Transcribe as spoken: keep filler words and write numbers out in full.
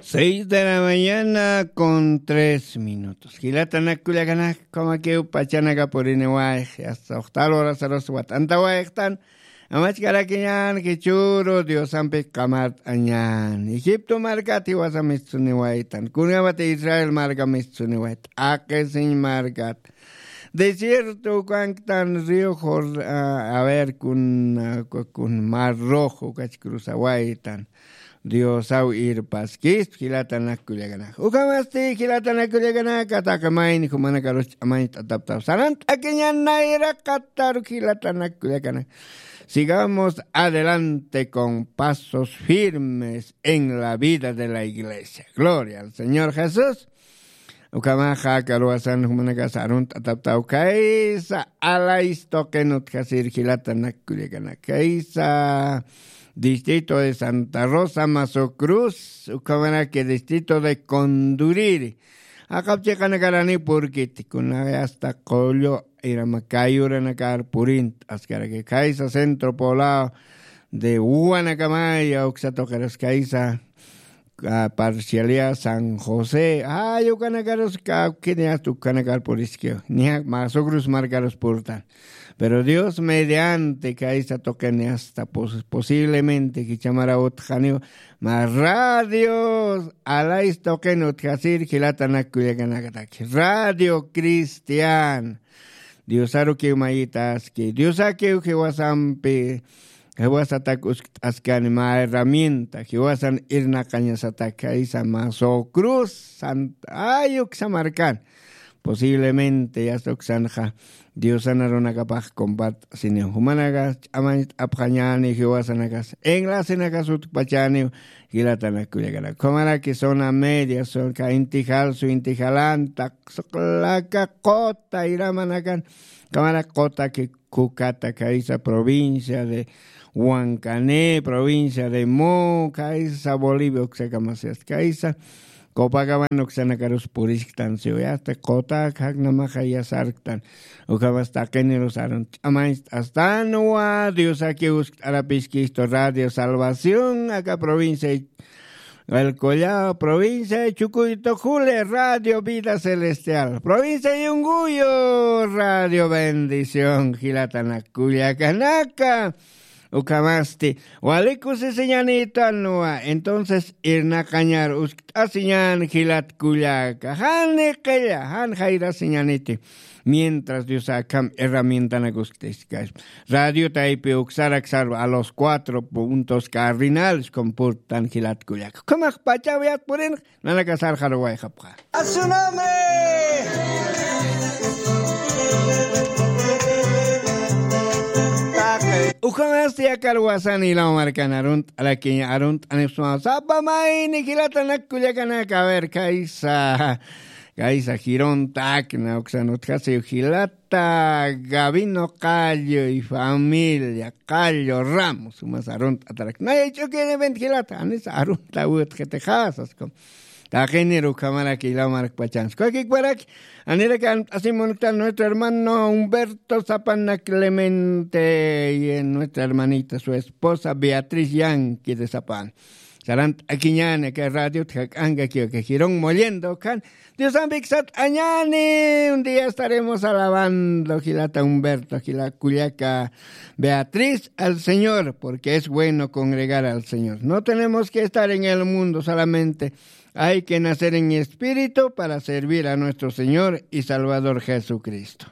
Seis de la mañana con tres minutos. Jilatanak kullakanak, ukhamakiw pachanaka puriniwayxi, hasta uxtal horasarus wat'antawayxtan. Amachkarakiñän jichhüru Diosampi qamart'añän. Egipto markat jiwasa mistsuniwaytan. Kunjamati Israel marka mistsuniwaytan. T'aqisiñ markat. Desierto ukanktan río Jor-, a, a ver, kun, a, kun Mar Rojo ukach cruzawaytan. Diosaw irpaskispa jilatanak kullakanak. Ukhamasti jilatanak kullakanak, taqi mayni jumanakarus ch'amañcht'ataptaw. Sarant'akiñän nayraqataruk jilatanak kullakanak. Sigamos adelante con pasos firmes en la vida de la iglesia. Gloria al Señor Jesús. Ukhamaxa aka aruwasan jumanakas arunt'ataptaw kaysa Alais tuqin utjasir jilatanak kullakanak. Kaysa distrito de Santa Rosa, Mazo Cruz, ukhamaraki distrito de Conduriri. Jaqap chiqanakarani purkiti, kunay hasta Qullu irama kayuranakar purint'askaraki. Kaysa Centro Poblado de Uwanakamaya uksa tuqiras kaysa, a, parcialidad San José. Ay, ukanakarus kawkini hasta ukanakar puriskiw. Niya Mazo Cruz markarus purtan. Pero Dios mediante kaysa tuqini hasta pos-, posiblemente jichhamara utjaniw mä Radio Alais tuqin utjasir jilatanak kullakanakataki. Radio Cristiana. Diosarukiw mayitaski. Diosakiw jiwasampi, jiwasatak uskt'askani mä herramienta, jiwasan irnaqañasatak kaysa Mazo Cruz, Sant-, ay, uksa markan. Posiblemente yasta uksanxa Diosan arunakapax compart'asiniw. Jumanaka ch'amañcht'apxañäni jiwasanakas, enlacenakas utjpachäniw, jilatanak kullakanak. Ukhamaraki zona media, zona, Inti Jalsu, Inti Jalanta, Suqlaka, Qota, iramanakan, ukhamaraki Qotaki, Kukata, kaysa provincia de Huancané, provincia de Mo, kaysa Bolivia uksakamasiyas, kaysa Copacabana uksanakarusa purisktan siwi, hasta Qota jaknamaxa yasarktan. Ukhamas taqinirus arun ch'amañcht'astanwa, Diosaki uskt'arapiskistu Radio Salvación, aka provincia El Collao, provincia de Chucuito, Jule, Radio Vida Celestial, provincia de Yunguyo, Radio Bendición, jilatanak kullakanaka. Ukhamasti, wali kusisiñanitanwa, entonces irnaqañar uskt'asiñän jilat kullaka. Jan niqilla, jan jayrasiñaniti. Mientras Dios akham herramientanak uskt'askaspa. Radio taypi uksarak sarva a los cuatro puntos cardinales con purtan jilat kullaka. Ukhamax pachaw yat purinx, nanaka sarxaruwayxapxa. A su nombre. Ukhamasti aka aruwasan jilaw markan arunt'arakiña, arunt'anipxsma sapa mayni jilatanak kullakanaka, a ver, kaysa, kaysa Girón Tacna uksan utjasiw jilata Gavino Qallo y familia, Qallo Ramos, umas arunt'atarak. Nay, ch'uki event jilata, anisa arunt'awitxitixasas, como. Taqinir ukhamaraki jilaw markpachansa. Kawkikparak, anirak aruntt'asimunktan nuestro hermano Humberto Zapana Clemente y nuestra hermanita, su esposa Beatriz Yanqui de Zapana. Sarant'akiñäni aka radiot jak'ankakiw aka Girón Mollendo ukhan. Diosampik sat'añäni, un día estaremos alabando, jilata Humberto, jila kullaka Beatriz, al Señor, porque es bueno congregar al Señor. No tenemos que estar en el mundo solamente. Hay que nacer en espíritu para servir a nuestro Señor y Salvador Jesucristo.